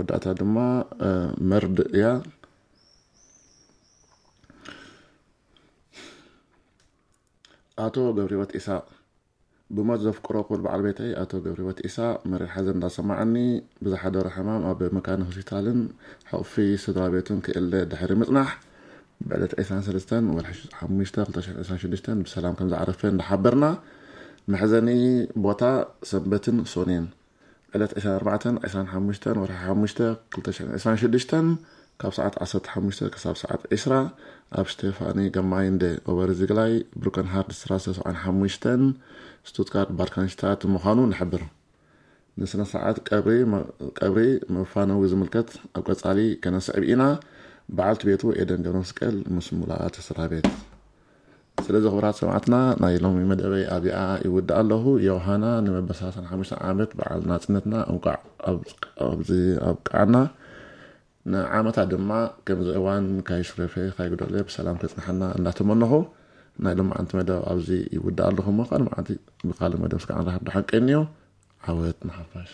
መወዳእታ ድማ መርድእ እያ። ኣቶ ገብረህይወት ኢሳቕ፣ ብሞት ዘፍቅሮ ክቡር በዓል ቤተይ ኣቶ ገብረህይወት ኢሳቕ መሪር ሓዘን እንዳሰማዓኒ፣ ብዝሓደሮ ሕማም ኣብ መካነ ሆስፒታልን ሕቑፊ ስድራ ቤቱን ክእለ ድሕሪ ምጽናሕ፣ ብዕለት ዕስራን ሰለስተን ወርሒ ሓሙሽተ ክልተ ሽሕን ዕስራን ሽዱሽተን ብሰላም ከም ዝዓረፈ እንዳሓበርና፣ መሕዘኒ ቦታ ሰንበትን ሶኔን ዕለት ዕስራን ኣርባዕተን ዕስራን ሓሙሽተን ወርሒ ሓሙሽተ ክልተ ሽሕን ዕስራን ሽዱሽተን ካብ ሰዓት ዓሰርተ ሓሙሽተ ክሳብ ሰዓት ዕስራ ኣብ ስቴፋኒ ገማይንደ ኦበርዚግላይ ብሩከንሃርድ ስትራሰ ሰብዓን ሓሙሽተን ስቱትጋርት ባርካንሽታት ምዃኑ ንሕብር። ንስነ ስርዓት ቀብሪ መፋነዊ ዝምልከት ኣብ ቀጻሊ ከነስዕብ ኢና። በዓልቲ ቤቱ ኤደን ገብረመስቀል ምስ ሙሉኣት ስድራ ቤት። ስለዚ ክቡራት ሰማዕትና ናይ ሎሚ መደበይ ኣብኣ ይውድእ ኣለኹ። ዮሃና ንመበል ሰላሳን ሓሙሽተን ዓመት በዓል ናጽነትና እንቋዕ ኣብዚ ኣብቅዓና። ንዓመታ ድማ ከምዚ እዋን ካይሽረፈ ካይጉደለ ብሰላም ከጽንሓና እናተመነኹ ናይ ሎማዓንቲ መደብ ኣብዚ ይውድእ ኣለኹ። እሞ ካልእ መዓልቲ ብካልእ መደብ ስጋዕ ንራኸብ። ደሓን ቀንዩ። ዓወት ንሓፋሽ።